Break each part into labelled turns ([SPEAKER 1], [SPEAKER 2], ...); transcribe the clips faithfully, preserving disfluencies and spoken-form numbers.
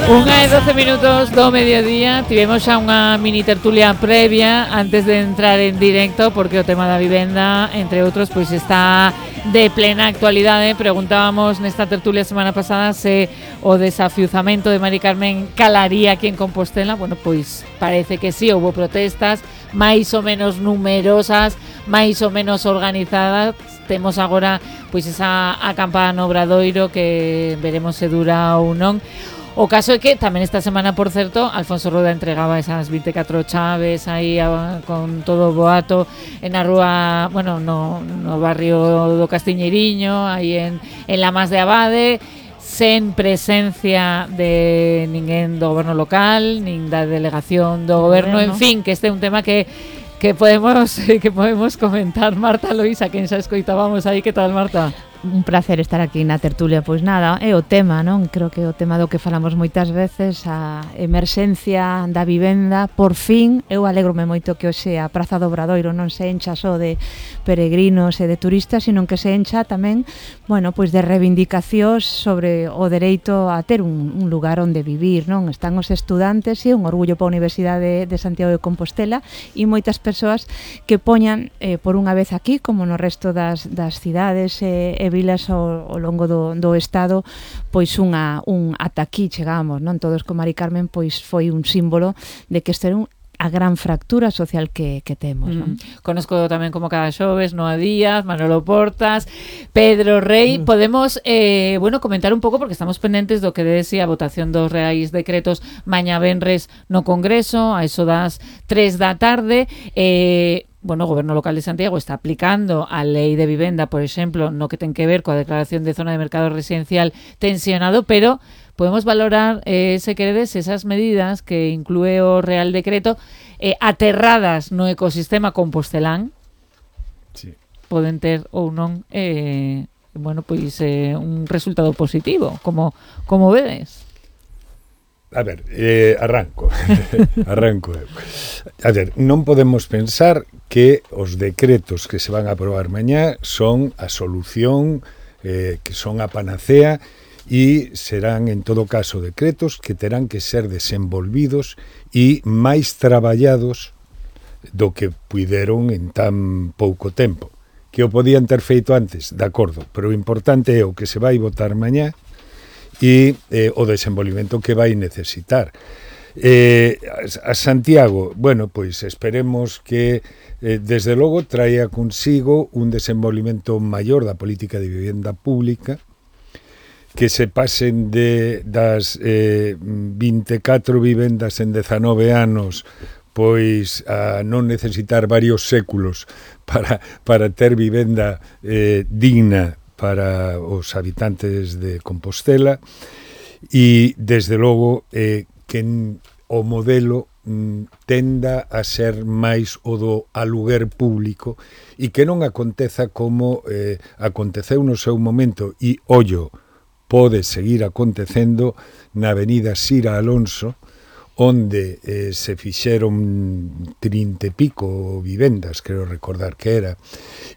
[SPEAKER 1] Unha e doce minutos do mediodía. Tivemos xa unha mini tertulia previa antes de entrar en directo, porque o tema da vivenda, entre outros, pois está de plena actualidade. Preguntábamos nesta tertulia semana pasada se o desafiuzamento de Mari Carmen calaría aquí en Compostela. Bueno, pois parece que sí, houbo protestas máis ou menos numerosas, máis ou menos organizadas. Temos agora pois esa acampada no Obradoiro que veremos se dura ou non. O caso é que tamén esta semana, por certo, Alfonso Rueda entregaba esas vinte e catro chaves aí a, con todo o boato en a rúa, bueno, no, no barrio do Castiñeiriño, aí en, en Lamas de Abade, sen presencia de ninguén do goberno local, nin da delegación do goberno, en fin, que este é un tema que que podemos que podemos comentar. Marta Loisa, quen xa escoitábamos aí. Que tal, Marta?
[SPEAKER 2] Un placer estar aquí na tertulia. Pois nada, é o tema, non? Creo que o tema do que falamos moitas veces, a emerxencia da vivenda. Por fin, eu alégrome moito que hoxe a Praza do Obradoiro non se encha só de peregrinos e de turistas, sino que se encha tamén, bueno, pois de reivindicacións sobre o dereito a ter un, un lugar onde vivir, non? Están os estudantes e un orgullo para a Universidade de Santiago de Compostela e moitas persoas que poñan eh, por unha vez aquí, como no resto das, das cidades e eh, vilas ao, ao longo do, do estado, pois unha un ata aquí chegamos, non? Todos con Mari Carmen pois foi un símbolo de que este era un a gran fractura social que, que temos, non?
[SPEAKER 1] Mm. Conozco tamén como cada xoves Noa Díaz, Manolo Portas, Pedro Rey. Mm. Podemos, eh, bueno, comentar un pouco, porque estamos pendentes do que dese a votación dos reais decretos mañá venres no Congreso, a eso das tres da tarde. Eh, bueno, o Goberno Local de Santiago está aplicando a Lei de Vivenda, por exemplo, no que ten que ver coa declaración de zona de mercado residencial tensionado, pero podemos valorar, eh, se queredes, esas medidas que inclúe o Real Decreto eh, aterradas no ecosistema compostelán.
[SPEAKER 3] Sí.
[SPEAKER 1] Poden ter ou non eh, bueno, pois eh, un resultado positivo, como, como vedes.
[SPEAKER 3] A ver, eh, arranco arranco a ver, non podemos pensar que os decretos que se van a aprobar mañá son a solución, eh, que son a panacea, e serán en todo caso decretos que terán que ser desenvolvidos e máis traballados do que puideron en tan pouco tempo. Que o podían ter feito antes, de acordo, pero o importante é o que se vai votar mañá e eh, o desenvolvimento que vai necesitar. Eh, a Santiago, bueno, pois esperemos que eh, desde logo traia consigo un desenvolvimento maior da política de vivenda pública, que se pasen de das eh, vinte e catro vivendas en dezanove anos pois a non necesitar varios séculos para, para ter vivenda eh, digna para os habitantes de Compostela, e desde logo eh, que o modelo mm, tenda a ser máis o do aluguer público e que non aconteza como eh, aconteceu no seu momento, e ollo, pode seguir acontecendo na avenida Sira Alonso, onde eh, se fixeron trinta e pico vivendas, creo recordar que era,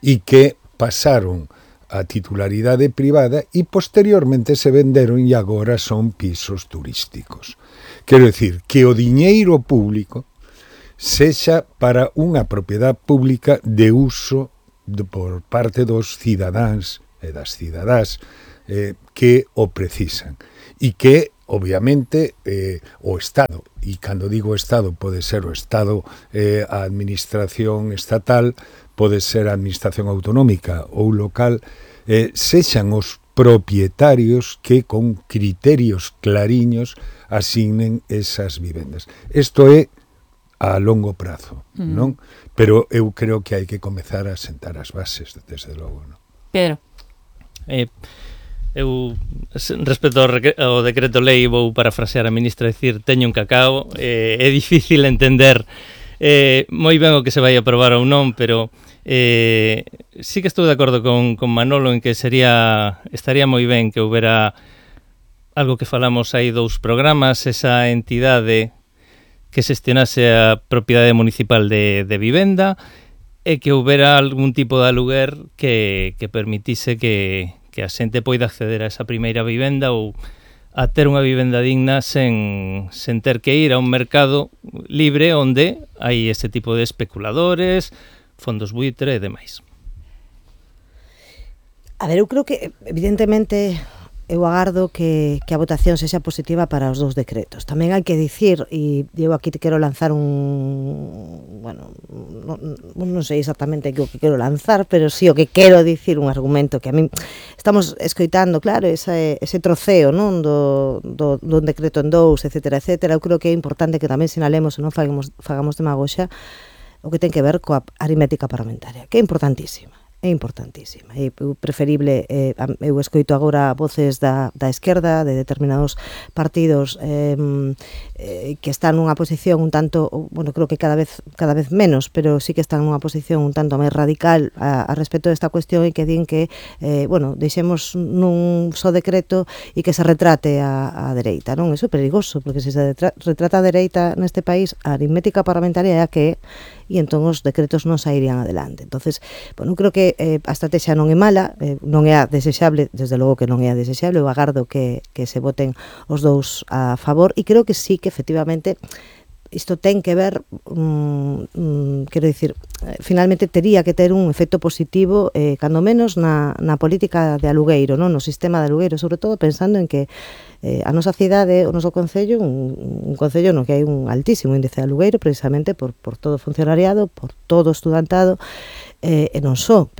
[SPEAKER 3] e que pasaron a titularidade privada e posteriormente se venderon e agora son pisos turísticos. Quero dicir, que o diñeiro público sexa para unha propiedade pública de uso de, por parte dos cidadáns e das cidadás eh, que o precisan, e que obviamente eh, o Estado, e cando digo Estado pode ser o Estado, eh, a administración estatal, pode ser a administración autonómica ou local, eh, sexan os propietarios que con criterios clariños asignen esas vivendas. Isto é a longo prazo, mm. non? Pero eu creo que hai que comezar a sentar as bases, desde logo, non?
[SPEAKER 1] Pedro.
[SPEAKER 4] Eh, eu, respecto ao, ao decreto lei, vou parafrasear a ministra, decir, teño un cacao, eh, é difícil entender eh, moi ben o que se vai aprobar ou non, pero eh, sí que estou de acordo con, con Manolo en que sería estaría moi ben que houbera algo que falamos aí dous programas, esa entidade que xestionase a propiedade municipal de, de vivenda e que houbera algún tipo de aluguer que, que permitise que, que a xente poida acceder a esa primeira vivenda ou a ter unha vivenda digna sen, sen ter que ir a un mercado libre onde hai ese tipo de especuladores, fondos buitre e demais.
[SPEAKER 5] A ver, eu creo que, evidentemente, eu agardo que, que a votación sexa positiva para os dous decretos. Tamén hai que dicir, e eu aquí te quero lanzar un... Bueno, non, non sei exactamente o que quero lanzar, pero sí o que quero dicir un argumento que a mí estamos escoitando, claro, ese, ese troceo, non, do, do, do decreto en dous, etcétera, etcétera. Eu creo que é importante que tamén sinalemos e non fagamos, fagamos demagoxa o que ten que ver coa aritmética parlamentaria, que é importantísima. É importantísima, é preferible, eh, eu escoito agora voces da, da esquerda, de determinados partidos eh, eh, que están nunha posición un tanto, bueno, creo que cada vez cada vez menos, pero sí que están nunha posición un tanto máis radical a, a respecto desta cuestión e que din que, eh, bueno, deixemos nun só decreto e que se retrate a, a dereita, non? Iso é perigoso, porque se se retrata a dereita neste país, a aritmética parlamentaria é a que é, e entón os decretos non sairían adelante. Entonces, bueno, creo que eh, a estrategia non é mala, eh, non é a desexable, desde logo que non é a desexable, eu agardo que, que se voten os dous a favor, e creo que sí que efectivamente isto ten que ver, um, um, quero dicir, eh, finalmente tería que ter un efecto positivo, eh, cando menos na, na política de alugueiro, non? No sistema de alugueiro, sobre todo pensando en que eh, a nosa cidade, o noso concello, un, un concello no que hai un altísimo índice de alugueiro, precisamente por, por todo o funcionariado, por todo o estudantado, eh, e non só,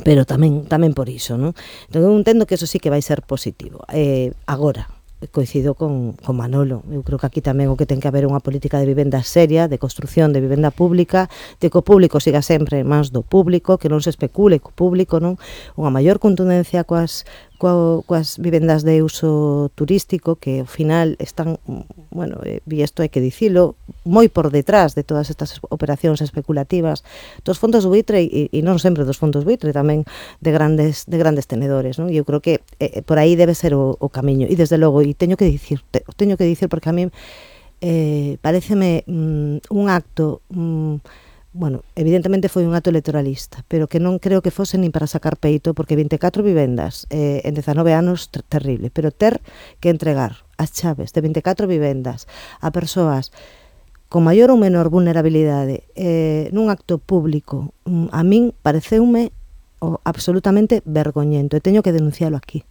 [SPEAKER 5] pero tamén tamén por iso, non? Entón eu entendo que eso sí que vai ser positivo. Eh, agora, coincido con, con Manolo, eu creo que aquí tamén o que ten que haber unha política de vivenda seria, de construción de vivenda pública, de que o público siga sempre máis do público, que non se especule co público, non? Unha maior contundencia coas coa, coas vivendas de uso turístico que ao final están, bueno, e isto hai que dicilo, moi por detrás de todas estas operacións especulativas dos fondos buitre e, e non sempre dos fondos buitre, tamén de grandes de grandes tenedores, non? E eu creo que eh, por aí debe ser o, o camiño, e desde logo, e teño que dicir, te, teño que dicir porque a mí eh, pareceme mm, un acto mm, bueno, evidentemente foi un acto electoralista, pero que non creo que fose nin para sacar peito, porque vinte e catro vivendas eh, en dezanove anos, ter terrible, pero ter que entregar as chaves de vinte e catro vivendas a persoas con maior ou menor vulnerabilidade eh, nun acto público, a min pareceume oh, absolutamente vergoñento, e teño que denuncialo aquí,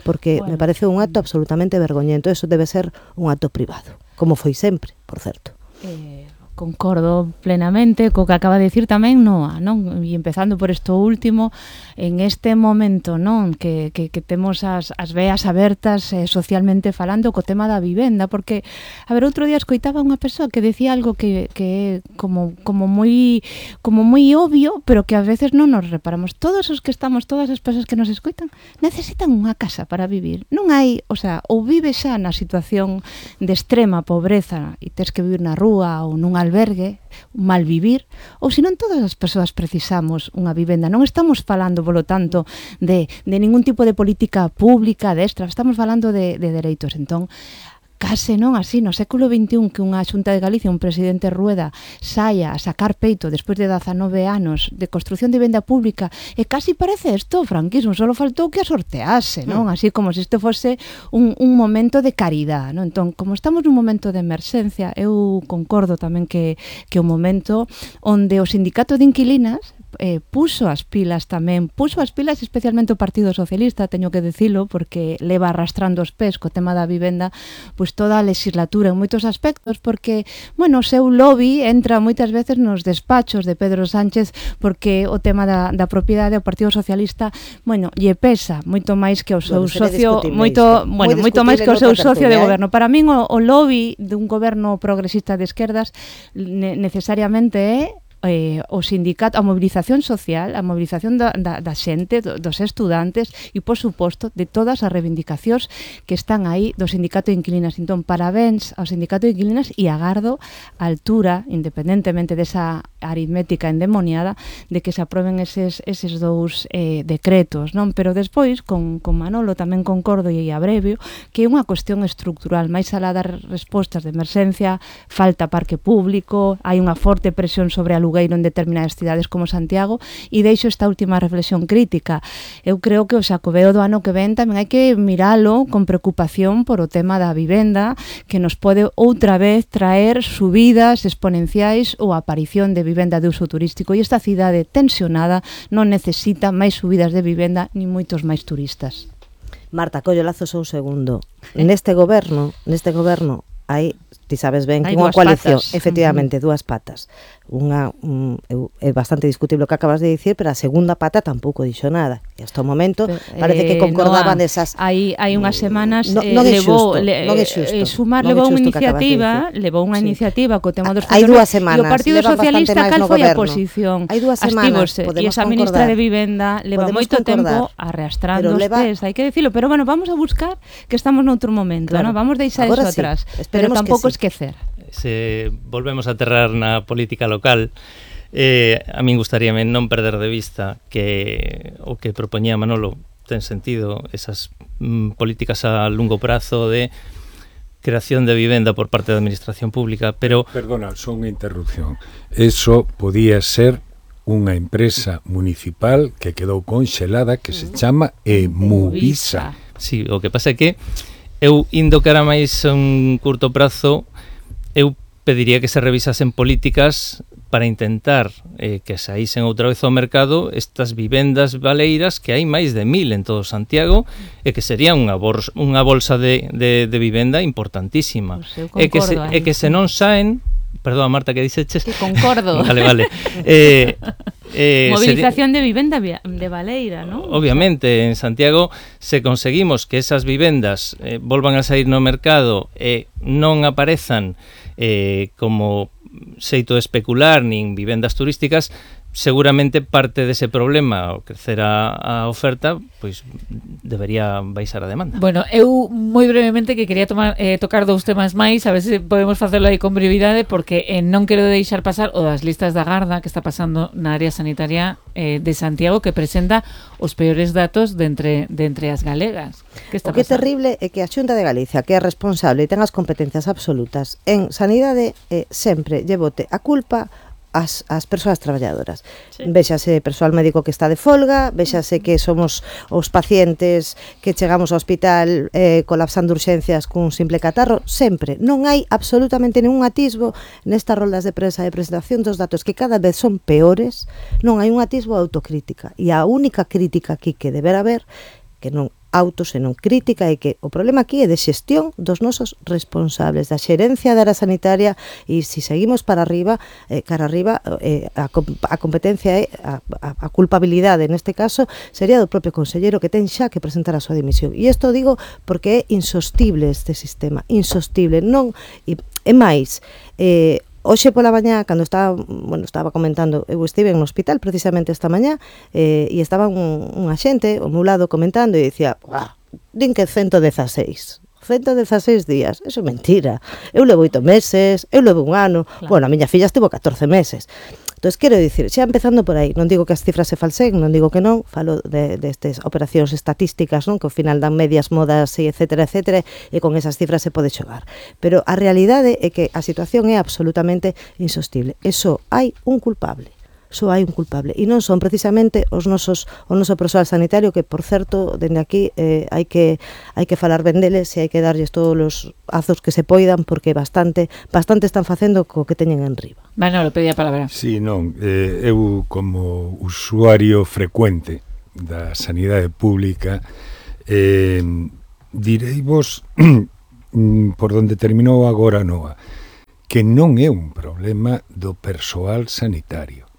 [SPEAKER 5] porque bueno, me parece un acto absolutamente vergoñento. Eso debe ser un acto privado, como foi sempre, por certo.
[SPEAKER 2] Eh... Concordo plenamente co que acaba de dicir tamén Noa, non? E empezando por isto último, en este momento, non, que, que, que temos as, as veas abertas eh, socialmente falando co tema da vivenda, porque, a ver, outro día escoitaba unha persoa que decía algo que, que é como, como moi como moi obvio, pero que a veces non nos reparamos. Todos os que estamos, todas as persoas que nos escoitan, necesitan unha casa para vivir. Non hai, o sea, ou vives xa na situación de extrema pobreza e tes que vivir na rúa ou nunha albergue, mal vivir, ou senón todas as persoas precisamos unha vivenda. Non estamos falando, polo tanto, de, de ningún tipo de política pública, de extra, estamos falando de, de dereitos. Entón, case non así, no século veintiún, que unha Xunta de Galicia, un presidente Rueda, saia a sacar peito despois de dezanove anos de construción de vivenda pública, e casi parece isto o franquismo, só faltou que a sortease, non? Así como se isto fose un, un momento de caridad, non? Entón, como estamos nun momento de emerxencia, eu concordo tamén que, que o momento onde o sindicato de inquilinas eh, puso as pilas tamén, puso as pilas especialmente o Partido Socialista, teño que dicilo, porque leva arrastrando os pés co tema da vivenda, pois toda a legislatura en moitos aspectos, porque, bueno, o seu lobby entra moitas veces nos despachos de Pedro Sánchez, porque o tema da, da propiedade ao Partido Socialista, bueno, lle pesa moito máis que o seu bueno, socio, moito, bueno, moito máis que o seu socio de goberno. Para min o, o lobby dun goberno progresista de esquerdas ne, necesariamente é Eh, o sindicato, a mobilización social, a mobilización da, da, da xente, do, dos estudantes e, por suposto, de todas as reivindicacións que están aí do sindicato de inquilinas. Entón, parabéns ao sindicato de inquilinas e agardo a altura, independentemente desa aritmética endemoniada de que se aproben eses, eses dous eh, decretos, non? Pero despois, con, con Manolo tamén concordo e abrevio, que é unha cuestión estructural, máis alá das respostas de emerxencia, falta parque público, hai unha forte presión sobre alugueiro en determinadas cidades como Santiago, e deixo esta última reflexión crítica. Eu creo que o Xacobeo do ano que ven tamén hai que miralo con preocupación por o tema da vivenda, que nos pode outra vez traer subidas exponenciais ou aparición de vivenda de uso turístico, e esta cidade tensionada non necesita máis subidas de vivenda ni moitos máis turistas.
[SPEAKER 5] Marta, collo lazos un segundo. Neste goberno, neste goberno hai, ti sabes ben, que unha coalición, patas. Efectivamente, uh -huh. dúas patas. Unha um, é bastante discutible o que acabas de dicir, pero a segunda pata tampouco dixo nada. E hasta o momento pero, parece eh, que concordaban no, desas.
[SPEAKER 2] Hai hai unhas semanas
[SPEAKER 5] no,
[SPEAKER 2] eh,
[SPEAKER 5] non
[SPEAKER 2] levou
[SPEAKER 5] xusto,
[SPEAKER 2] le,
[SPEAKER 5] non é xusto,
[SPEAKER 2] eh, Sumar
[SPEAKER 5] non
[SPEAKER 2] levou
[SPEAKER 5] é
[SPEAKER 2] unha
[SPEAKER 5] xusto
[SPEAKER 2] iniciativa,
[SPEAKER 5] de
[SPEAKER 2] levou unha sí. iniciativa co tema dos
[SPEAKER 5] hai dúas semanas,
[SPEAKER 2] e o Partido Socialista cal foi a posición?
[SPEAKER 5] Hai dúas semanas,
[SPEAKER 2] e esa ministra de Vivenda leva podemos moito concordar, tempo arrastrando os leva... pés, hai que decirlo, pero bueno, vamos a buscar que estamos noutro momento, claro. ¿no? Vamos deixar eso sí. atrás, pero tampouco sí. esquecer.
[SPEAKER 4] Se volvemos a aterrar na política local, eh, a min gustaríame non perder de vista que o que propoñía Manolo ten sentido, esas mm, políticas a longo prazo de creación de vivenda por parte da administración pública, pero...
[SPEAKER 3] Perdona, son unha interrupción. Eso podía ser unha empresa municipal que quedou conxelada que se chama Emuvisa.
[SPEAKER 4] Sí, o que pasa é que eu indo cara máis a un curto prazo, eu pediría que se revisasen políticas para intentar eh, que saísen outra vez ao mercado estas vivendas baleiras, que hai máis de mil en todo Santiago, e que sería unha, bolsa, unha bolsa de, de, de vivenda importantísima.
[SPEAKER 2] Pues
[SPEAKER 4] e, que se, e que se non saen... Perdón, Marta, que dices?
[SPEAKER 2] Que concordo.
[SPEAKER 4] Vale, vale. Eh,
[SPEAKER 2] eh, Movilización sería... de vivenda de baleira, ¿no?
[SPEAKER 4] Obviamente, en Santiago, se conseguimos que esas vivendas eh, volvan a sair no mercado e eh, non aparezan eh, como xeito de especular nin vivendas turísticas, seguramente parte dese problema, ao crecer a, a oferta, pois debería baixar a demanda.
[SPEAKER 1] Bueno, eu moi brevemente que quería tomar, eh, tocar dous temas máis, a ver se podemos facelo aí con brevidade, porque eh, non quero deixar pasar o das listas da Garda que está pasando na área sanitaria eh, de Santiago, que presenta os peores datos de entre, de entre as galegas. Que está
[SPEAKER 5] o que é
[SPEAKER 1] pasando?
[SPEAKER 5] terrible é que a Xunta de Galicia, que é responsable e ten as competencias absolutas en sanidade, eh, sempre llevote a culpa as, as persoas traballadoras. Sí. Véxase persoal médico que está de folga, véxase que somos os pacientes que chegamos ao hospital eh, colapsando urxencias cun simple catarro, sempre. Non hai absolutamente ningún atisbo nestas roldas de prensa de presentación dos datos que cada vez son peores, non hai un atisbo de autocrítica. E a única crítica aquí que deberá haber, que non auto, senón crítica, é que o problema aquí é de xestión dos nosos responsables, da xerencia da área sanitaria, e se si seguimos para arriba, eh, cara arriba, eh, a, a competencia é, a, a, a culpabilidade neste caso, sería do propio conselleiro que ten xa que presentar a súa dimisión. E isto digo porque é insostible este sistema, insostible, non, e, e máis, eh, hoxe pola mañá, cando estaba, bueno, estaba comentando, eu estive no hospital precisamente esta mañá, eh, e estaba un, un axente ao meu lado comentando e dicía, ah, din que ciento dieciséis días, eso é mentira, eu levo oito meses, eu levo un ano, claro. Bueno, a miña filla estivo catorce meses. Entón, quero dicir, xa empezando por aí, non digo que as cifras se falsen, non digo que non, falo de, destes operacións estatísticas, non, que ao final dan medias, modas, e etcétera, etcétera, e con esas cifras se pode xogar. Pero a realidade é que a situación é absolutamente insostible. Eso hai un culpable. Só hai un culpable, e non son precisamente os nosos o noso persoal sanitario, que por certo, dende aquí eh, hai que hai que falar ben deles e hai que darlles todos os azos que se poidan, porque bastante bastante están facendo co que teñen en riba.
[SPEAKER 1] Manolo, pedía a palabra.
[SPEAKER 3] Sí, non, eh, eu como usuario frecuente da sanidade pública eh, direivos por donde terminou agora Noa, que non é un problema do persoal sanitario,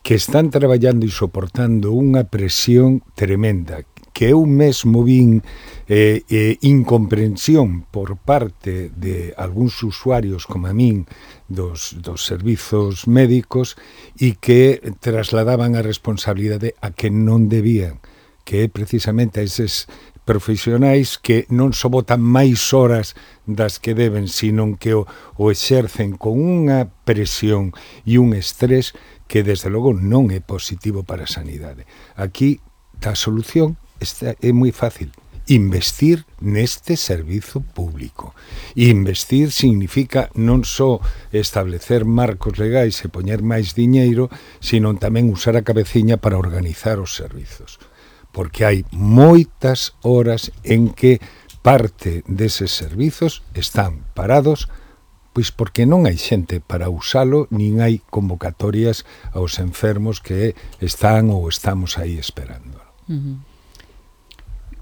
[SPEAKER 3] que están traballando e soportando unha presión tremenda, que eu mesmo vin eh, eh, incomprensión por parte de algúns usuarios como a min dos, dos servizos médicos, e que trasladaban a responsabilidade a que non debían, que é precisamente a eses profesionais que non só botan máis horas das que deben, sino que o, o exercen con unha presión e un estrés que desde logo non é positivo para a sanidade. Aquí a solución está, é moi fácil. Investir neste servizo público. E investir significa non só establecer marcos legais e poñer máis diñeiro, sino tamén usar a cabeciña para organizar os servizos. Porque hai moitas horas en que parte deses servizos están parados, pois porque non hai xente para usalo, nin hai convocatorias aos enfermos que están ou estamos aí esperando.
[SPEAKER 2] Uh-huh.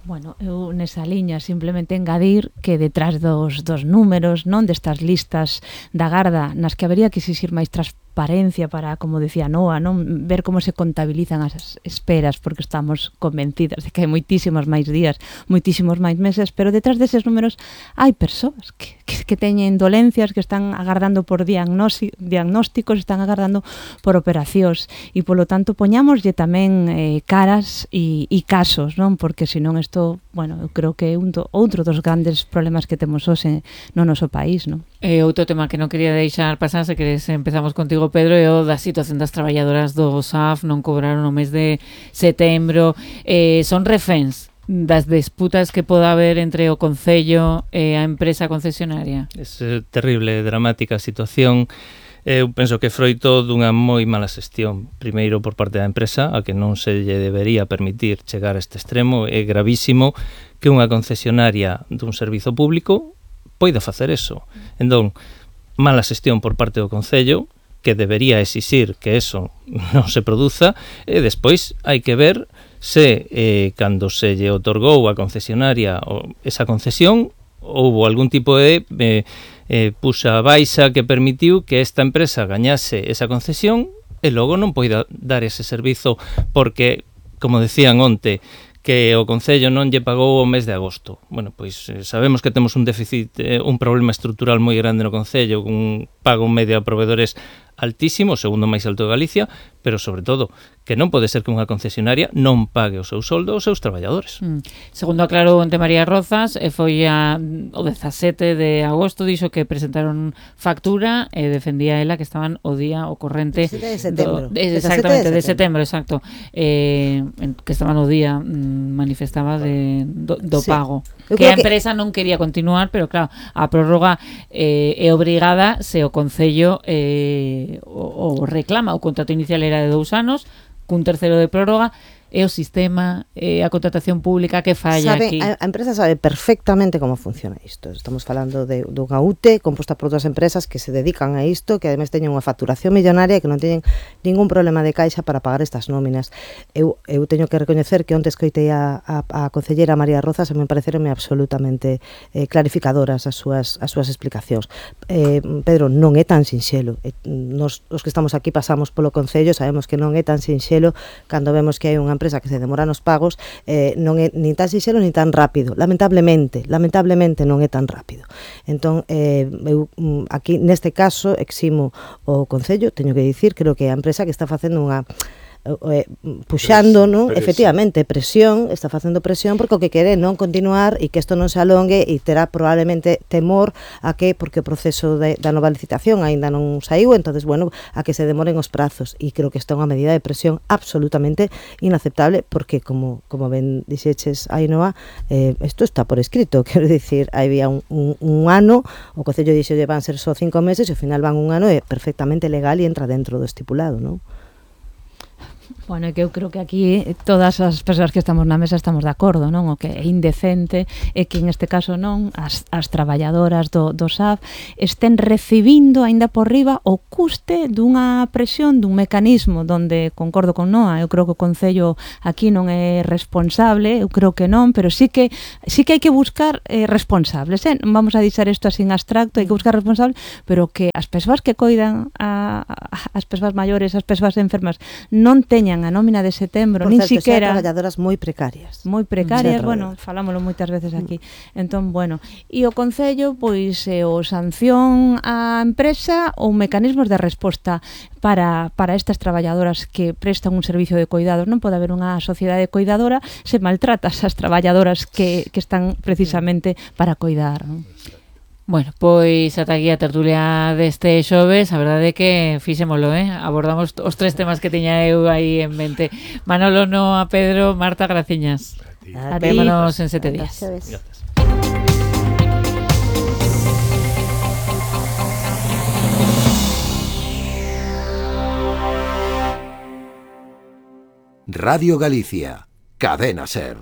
[SPEAKER 2] Bueno, eu nesa liña simplemente engadir que detrás dos, dos números, non destas listas da garda, nas que habería que exixir máis transparencia para, como decía Noa, non ver como se contabilizan as esperas, porque estamos convencidas de que hai moitísimos máis días, moitísimos máis meses, pero detrás deses números hai persoas que, que, que teñen dolencias, que están agardando por diagnósticos, están agardando por operacións, e polo tanto poñámoslle tamén eh, caras e, e casos, non? Porque senón isto Isto, bueno, eu creo que é un do, outro dos grandes problemas que temos hoxe no noso país, non?
[SPEAKER 1] E outro tema que non quería deixar pasar, se queres empezamos contigo, Pedro, é o da situación das traballadoras do S A F, non cobraron o mes de setembro, eh, son reféns das disputas que poda haber entre o Concello e a empresa concesionaria.
[SPEAKER 4] É terrible, dramática a situación. Eu penso que é froito dunha moi mala xestión, primeiro por parte da empresa, a que non se lle debería permitir chegar a este extremo. É gravísimo que unha concesionaria dun servizo público poida facer eso. Entón, mala xestión por parte do Concello, que debería exixir que eso non se produza, e despois hai que ver se eh, cando se lle otorgou a concesionaria esa concesión houbo algún tipo de eh, eh, puxa baixa que permitiu que esta empresa gañase esa concesión e logo non poida dar ese servizo porque, como decían onte, que o Concello non lle pagou o mes de agosto. Bueno, pois eh, sabemos que temos un déficit, eh, un problema estrutural moi grande no Concello, un pago medio a proveedores altísimo, o segundo máis alto de Galicia, pero sobre todo que non pode ser que unha concesionaria non pague o seu soldo aos seus traballadores.
[SPEAKER 1] Mm. Segundo aclarou onte María Rozas, e foi a, o dezasete de agosto, dixo que presentaron factura e defendía ela que estaban o día o corrente
[SPEAKER 5] de setembro.
[SPEAKER 1] Do, de, exactamente, de setembro, exacto. Eh, que estaban o día mm, manifestaba de, do, do sí. pago. Eu que a empresa que... non quería continuar, pero claro, a prórroga eh, é obrigada se o Concello eh, o, o reclama. O contrato inicial era de dous anos, cun terceiro de prórroga, é o sistema, é a contratación pública que falla
[SPEAKER 5] sabe,
[SPEAKER 1] aquí.
[SPEAKER 5] A, a empresa sabe perfectamente como funciona isto. Estamos falando de dunha U T composta por dúas empresas que se dedican a isto, que ademais teñen unha facturación millonaria e que non teñen ningún problema de caixa para pagar estas nóminas. Eu, eu teño que recoñecer que onte escoitei a, a, a concellera María Rozas e me pareceronme absolutamente eh, clarificadoras as súas, as súas explicacións. Eh, Pedro, non é tan sinxelo. Eh, nos, os que estamos aquí pasamos polo Concello, sabemos que non é tan sinxelo cando vemos que hai unha empresa que se demora nos pagos, eh, non é nin tan sinxelo nin tan rápido, lamentablemente lamentablemente non é tan rápido. Entón, eh, eu aquí neste caso eximo o Concello, teño que dicir, creo que a empresa que está facendo unha eh, puxando, non? Efectivamente, presión, está facendo presión porque o que quere non continuar e que isto non se alongue e terá probablemente temor a que, porque o proceso de, da nova licitación aínda non saiu, entonces, bueno, a que se demoren os prazos e creo que esta é unha medida de presión absolutamente inaceptable porque, como, como ben dixeches, Ainhoa, eh, isto está por escrito, quero dicir, había un, un, un ano, o Concello dixo que van ser só cinco meses e ao final van un ano e perfectamente legal e entra dentro do estipulado, non?
[SPEAKER 2] Bueno, é que eu creo que aquí todas as persoas que estamos na mesa estamos de acordo, non? O que é indecente é que en este caso non as, as traballadoras do, do S A F estén recibindo aínda por riba o custe dunha presión, dun mecanismo donde, concordo con Noa, eu creo que o Concello aquí non é responsable, eu creo que non, pero sí que sí que hai que buscar eh, responsables, eh? Non vamos a dixer isto así en abstracto, hai que buscar responsables, pero que as persoas que coidan a, a, as persoas maiores, as persoas enfermas non te teñan a nómina de setembro,
[SPEAKER 5] Por
[SPEAKER 2] nin
[SPEAKER 5] certo,
[SPEAKER 2] siquera...
[SPEAKER 5] xa traballadoras moi precarias.
[SPEAKER 2] moi precarias,
[SPEAKER 5] Mm.
[SPEAKER 2] bueno, falámoslo moitas veces aquí. Entón, bueno, e o Concello, pois, eh, o sanción á empresa ou mecanismos de resposta para, para estas traballadoras que prestan un servicio de cuidados. Non pode haber unha sociedade coidadora se maltratas as traballadoras que, que están precisamente para coidar, non?
[SPEAKER 1] Bueno, pois ata aquí a tertulia deste xoves, a verdade é que fixémolo, eh? Abordamos os tres temas que tiña eu aí en mente. Manolo, Noa, Pedro, Marta, graciñas.
[SPEAKER 5] A ti.
[SPEAKER 1] Vémonos en sete días.
[SPEAKER 5] Gracias.
[SPEAKER 4] Gracias.
[SPEAKER 6] Radio Galicia, Cadena Ser.